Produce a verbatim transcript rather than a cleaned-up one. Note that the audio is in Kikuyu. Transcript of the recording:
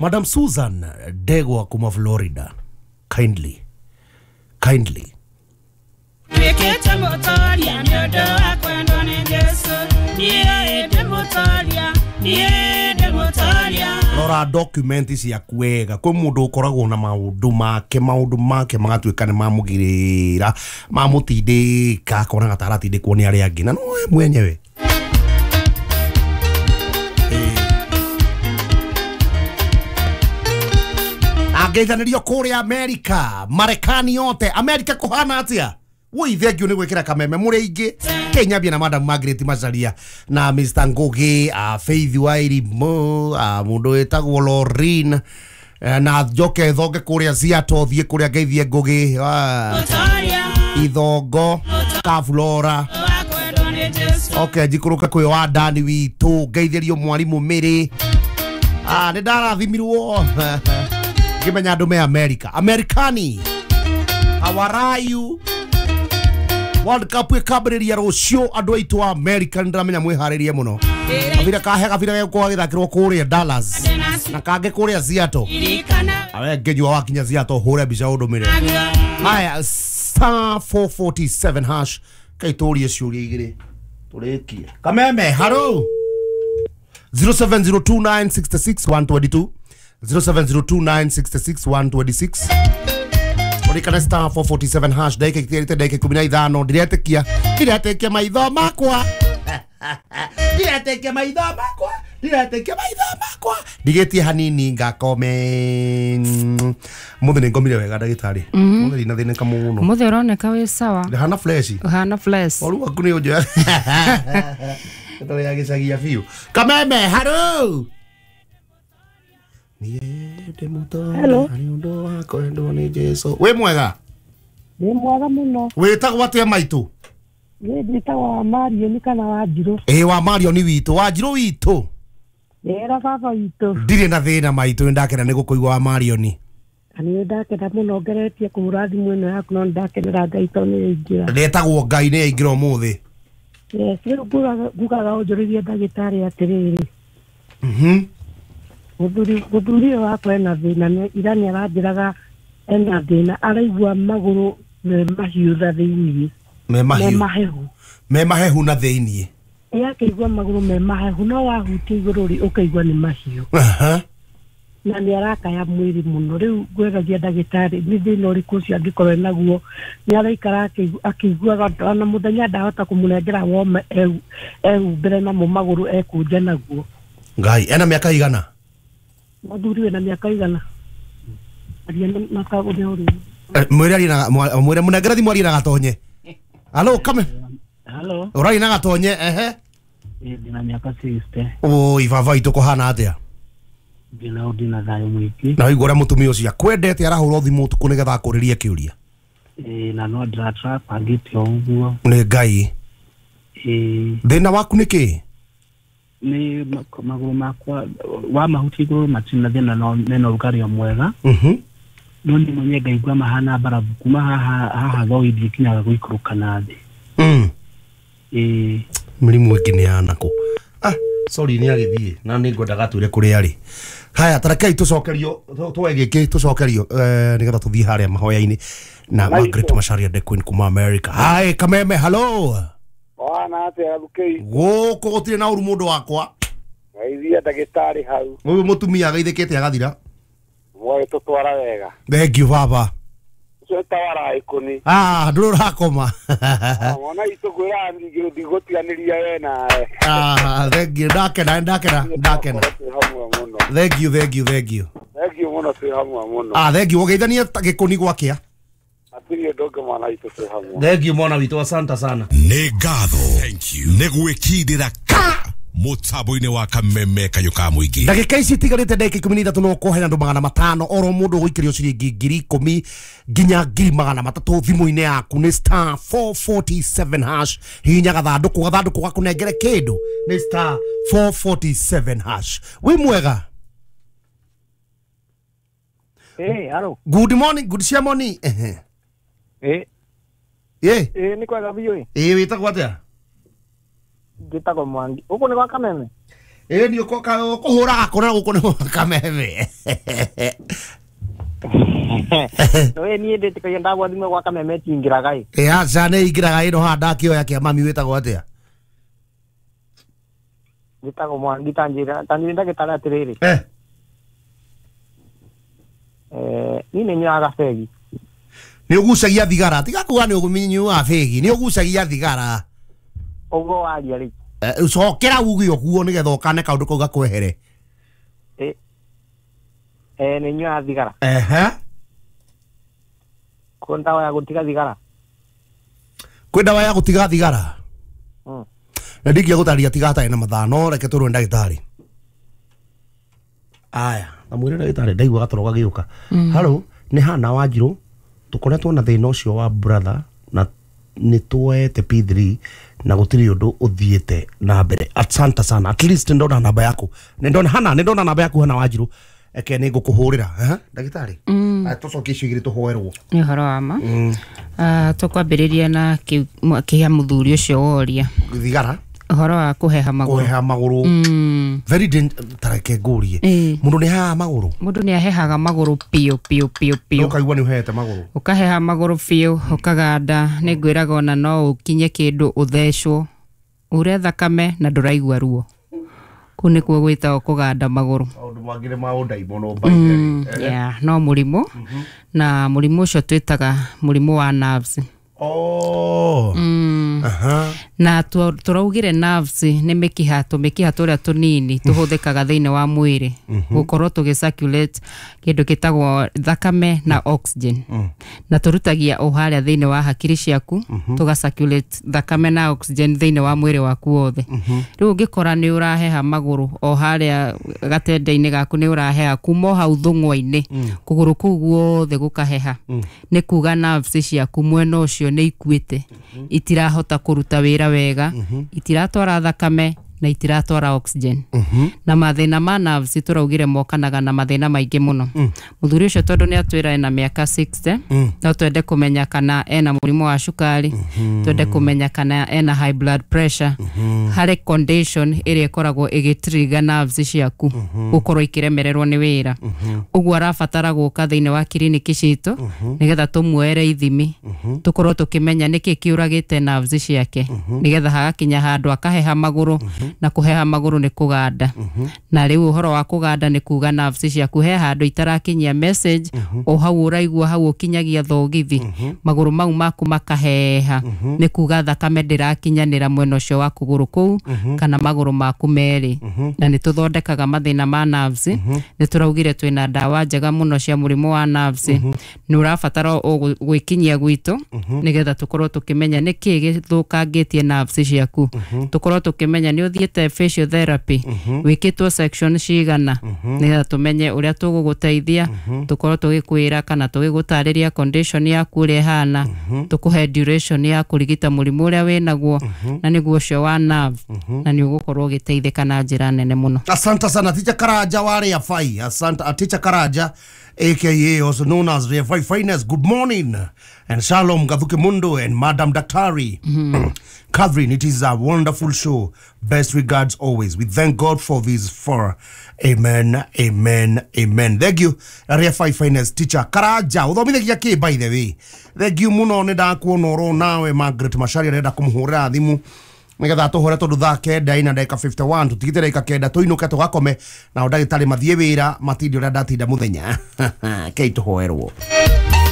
Madam Susan Ndegwa kuma Florida, kindly kindly rora document ciaku wega. Kwĩ mũndũ ũkoragwo na maũndũ make maũndũ make magatuĩka nĩ mamũgirĩra mamũtindĩka akonaga ta aratindĩkwo nĩ arĩa angĩ na no we mwenyewe. Angeithanĩrio kũrĩa Amerika, Marekani yote. Amerika kũhana atĩa? Woi thank you nĩ gwĩkĩra kameme mũrĩ aingĩ. Kenyambia na Madam Margaret Macharia na Mister Ngugi, uh, Faith Wairimu, uh, mũndũ wĩtagwo Lorin, uh, na njoke thonge kũrĩa Seattle, thiĩ kũrĩa ngeithie Ngugi, uh, Ithongo Kaflora. Okay, njikũrũke kwĩ wa Dani witũ, ngeithĩrio mwarimũ Mĩrĩ. Ah, nĩ ndarathimirwo ngĩmenya andũ me America. Amerikani, how are you? World Cup ĩkambĩrĩria rũciũ, andũ aitũ a America nĩ ndĩramenya mwĩharĩrie mũno. Kabira kahe kabira gegũkorwo gagĩthakĩrwo kũrĩa Dallas na kangĩ kũrĩa Seattle. Awe ngĩnyua wakinya Seattle hũre mbica ũndũmĩre. Haya, star four forty-seven hash kaitũrie ciũria igĩrĩ tũrĩkie. Kameme, hello. zero seven zero two nine six six one two two, zero seven zero two nine six six one two six. Orikana star four forty-seven hash ndagĩka itigarĩte ndagĩka ikũmi na ithano. Ndiretĩkia ndiretĩkia maitho makwa ndiretĩkia maitho makwa ndiretĩkia maitho makwa ndigĩtie hanini ngakome. Mũthĩ nĩ ngomire wega ndagĩtarĩ. Mũthĩ ndina thĩnĩka mũno. Mũthĩ ũroneka wĩ sawa. Ndĩhana fresh. Ũhana fresh. Ũru waku nĩ ũnjoya. Tũrĩ agĩcagia biũ. Kameme, hello. Hello. Wĩ mwega? Ndĩ mwega mũno. Wĩtagwo atĩa maitũ? Niĩ njĩtagwo wa Marion kana Wanjirũ. Ĩĩ wa Marion witũ, Wanjirũ witũ. Ĩra baba witũ. Ndirĩ na thĩna maitũ, nĩ ndakena nĩ gũkũigua wa Marion. Na nĩ ndakena mũno ngeretie kũhũra thimũ ĩno yaku no nĩ ndakenera Ngai tondũ nĩ yaingĩra. Ndetagwo Ngai nĩ yaingĩra ũmũthĩ. Yes, rĩu ngugaga ũnjũrĩrie ndagĩtarĩ atĩrĩrĩ. Mhm. Mũthuri mũthuri ũyũ wakwa ena thĩna, ira nĩ aranjĩraga ena thĩna, araigua magũrũ me mahiũ na thĩiniĩ. Me mahiũ. Me mahehu. Me mahehu na thĩiniĩ. Ĩ akĩigua magũrũ me mahehu no wahutia igũrũ rĩ ũkaigua nĩ mahiũ. Aha. Na nĩ arakaya mwĩrĩ mũno. Rĩu ngwĩragia ndagĩtarĩ nĩ thĩna ũrĩkũ ũcio angĩkorwo enaguo. Nĩ araikara akĩiguaga ona mũthenya ndahota kũmũnengera woma ehumbĩre namo magũrũ ekũnje naguo. Ngai, ena mĩaka igana? Mũthuri wĩna mĩaka igana. Aria na kaũndũ ũrĩa. Mwĩre arie na mwĩre mũnengere thimũ arie na gatonye. Halo, kame. Halo. Ũraria na gatonye, ehe. Ndĩna mĩaka sixty. Oi, baba itũ kũhana atĩa? Ndĩna ndĩna thayũ mũingĩ. Na waigua ũrĩa mũtumia ũcio akwendete arahũra thimũ ũtukũ nĩgetha akũrĩrie kĩũria. Ĩĩ, na no ndĩratrapangĩte o ũguo. Nĩ Ngai. Ĩĩ. Thĩna waku nĩ kĩ? Nĩ magũrũ makwa wa mahuti igũrũ matirĩ na thĩna no mena ũrugarĩ o mwega. Mhm. No nĩ mwenye ngaigua mahana mbarabu kuma haha haha thoi ndikinyaga gũikũrũka na thĩ. Mm. Ĩĩ. Mĩrimũ ĩngĩ nĩ ya nakũ. Ah, sorry nĩ agĩthiĩ na nĩ ngwendaga twĩre kũrĩa arĩ. Haya, tarekei tũcokerio twoe gĩkĩ tũcokerio eh nĩgetha tũthiĩ harĩa mahoya-inĩ na Margaret Macharia the Queen kuma America. Hi Kameme, hello. Wana atĩa Gathukei? Gũkũ gũtirĩ na ũru mũndũ wakwa. Geithia ndagĩtarĩ hau. Ũyũ mũtumia ageithĩkĩte agathira. Mwagĩtũtwara wega. Thank you baba. Ũcio tawara ikũni. Ah, ndũrĩ ũrakoma. Mwana itũ ngwĩraga ndigũtiganĩria we nawe. Ah, thank you. Ndakena, ndakena, ndakena. Thank you, thank you, thank you. Thank you mũno twĩ hamwe mũno. Ah, thank you. Ũgeithanie gĩkũni gwakĩa. Hatirĩ ũndũ ũngĩ mwana witũ twĩ hamwe. Thank you mwana witũ, asante sana. Nĩ ngatho. Thank you. Nĩ gwĩkindĩra ka mũtambo-inĩ wa Kameme kayũ ka mũingĩ. Ndagĩka ici itigarĩte ndagĩka ikũmi na ithatũ no kũhe andũ magana matano oro mũndũ ũgũikĩrio ciringi ngiri ikũmi nginya ngiri magana matatũ thimũ-inĩ yaku nĩ star four forty-seven hash. Hihinya gathandũkũ gathandũkũ gakũnengere kĩndũ nĩ star four forty-seven hash. Wĩ mwega? Hey, hello. Good morning, good morning. Ehe. Eh. Eh. Eh, nĩ kwega biũ ĩ. Ĩ wĩtagwo atĩa? Njĩtagwo Mwangi. Gũkũ nĩ gwa Kameme? Ĩ ni ũkũhũra gakũra gũkũ nĩ kameme. No niĩ ndĩtĩkagia ndagwa thimũ gwa kameme tingĩraga ĩ. Ĩ aca nĩ ingĩraga ĩno haha ndakĩoya kĩa mami wĩtagwo atĩa? Njĩtagwo Mwangi tanjĩra tanjĩra ndagĩtarĩ atĩrĩrĩ. Eh. Eh, niĩ nĩ nyuaga begi. Nĩ ũgucagia thigara tiga kuga nĩ ũnyuaga begi nĩ ũgucagia thigara. Ũguo waria rĩ. Cokera uge ũguo nĩgetha ũkane kaũndũ kau gakwehere. Eh. Eh, nĩ nyuaga thigara. Ehe. Kwĩ ndawa ya gũtiga thigara? Kwĩ ndawa ya gũtiga thigara? Mm. Na ndingĩa gũtarĩria tiga hatarĩ na mathaa no reke tũrwe ndagĩtarĩ. Aya, na mwĩre ndagĩtarĩ ndaigua gatoro gagĩũka. Halo, nĩ Hana Wanjirũ tũkoretwo na thĩna ũcio wa brother na nĩ tuoete P three na gũtirĩ ũndũ ũthiĩte na mbere. Asante sana. At least ndona namba yaku. Nĩ ndona Hana, nĩ ndona namba yaku Hana Wanjirũ. Eke nĩ ngũkũhũrĩra. Eh, ndagĩtarĩ. Tũcokie icio igĩrĩ tũhoerwo. Nĩ ũhoro wa ma. Ah, tũkwambĩrĩria na kĩa mũthuri ũcio woria. Thigara. Ũhoro wa kũheha magũrũ. Kũheha magũrũ. Very tareke ngũrie. Mũndũ nĩ ahehaga magũrũ? Mũndũ nĩ ahehaga magũrũ biũ biũ biũ biũ. Ũkaigua nĩ ũhehete magũrũ. Ũkaheha magũrũ biũ, ũkaganda, nĩ ngwĩraga ona no ũkinye kĩndũ ũthecwo. Ure thakame na ndũraigua ruo. Kũu nĩkuo gwĩtagwo kũganda magũrũ. Maũndũ mangĩ nĩ ma ũndaimono by the way. Yeah, no mũrimũ. Na mũrimũ ũcio twĩtaga mũrimũ wa nerves. Oh. Mm. Aha. Na tũraugire nerves nĩ mĩkiha tũmĩkiha tũrĩa tũnini tũhũthĩkaga thĩinĩ wa mwĩrĩ gũkorwo tũgĩ circulate kĩndũ gĩtagwo thakame na oxygen. Na tũrutagia o harĩa thĩinĩ wa hakiri ciaku tũga circulate thakame na oxygen thĩinĩ wa mwĩrĩ waku wothe. Rĩu ũngĩkora nĩ ũraheha magũrũ o harĩa gatende-inĩ gaku nĩ ũraheha kuma o hau thũng'wa-inĩ kũgũrũ kũu guothe gũkaheha nĩ kuga nerves ciaku mwena ũcio nĩ ikuĩte itirahota kũruta wĩra wega itiratwara thakame na itiratwara oxygen. Na mathĩna ma nerves tũraugire mokanaga na mathĩna maingĩ mũno. Mũthuri ũcio tondũ nĩ atwĩra ena mĩaka sixty no twende kũmenya kana ena mũrimũ wa cukari, twende kũmenya kana ena high blood pressure, harĩ condition ĩrĩa ĩkoragwo ĩgĩtrigger nerves ciaku gũkorwo ikĩremererwo nĩ wĩra. Ũguo arabatara gũka thĩinĩ wa kiriniki citũ nĩgetha tũmuoere ithimi tũkorwo tũkĩmenya nĩkĩ kĩũragĩte nerves ciake nĩgetha hagakinya handũ akaheha magũrũ na kũheha magũrũ nĩ kũganda. Na rĩu ũhoro wa kũganda nĩ kuga nerves ciaku he handũ itarakinyia message o hau ũraigua hau ũkinyagia thogithi magũrũ mau maku makaheha nĩ kuga thakame ndĩrakinyanĩra mwena ũcio wa kũgũrũ kũu kana magũrũ maku merĩ. Na nĩ tũthondekaga mathĩna ma nerves. Nĩ tũraugire twĩna ndawa njega mũno cia mũrimũ wa nerves. Nĩ ũrabatara gwĩkinyia gwitũ nĩgetha tũkorwo tũkĩmenya nĩkĩ gĩthũkangĩtie nerves ciaku, tũkorwo tũkĩmenya nĩ ũthiĩte physiotherapy wĩkĩtwo section cigana nĩgetha tũmenye ũrĩa tũgũgũteithia, tũkorwo tũgĩkwĩra kana tũgĩgũtarĩria condition yaku ũrĩa ĩhana, tũkũhe duration ya kũrigita mũrimũ ũrĩa wĩnaguo na nĩguo ũcio wa nerve na nĩ ũgũkorwo ũgĩteithĩka na njĩra nene mũno. Asante sana Teacher Karanja wa Ria Fai. Asante Teacher Karanja aka also known as Ria Fai Finest. Good morning and shalom Gathuke Mundo and Madam Daktari. Catherine, it is a wonderful show. Best regards always. We thank God for this for. Amen, amen, amen. Thank you, Ria Fai Finest Teacher Karanja. Uthomithagia ki by the way. Thank you muno nĩ ndakuona oro nawe Margaret Macharia arenda kũmũhũrĩra thimũ nigetha tũhũre tondũ thaa kenda ina ndagĩka fifty one tũtigĩte ndagĩka kenda tũinũke tũgakome nao ndagĩtarĩ mathiĩ wĩra matinde ũrĩa ndatinda mũthenya. Kei tũhoerwo.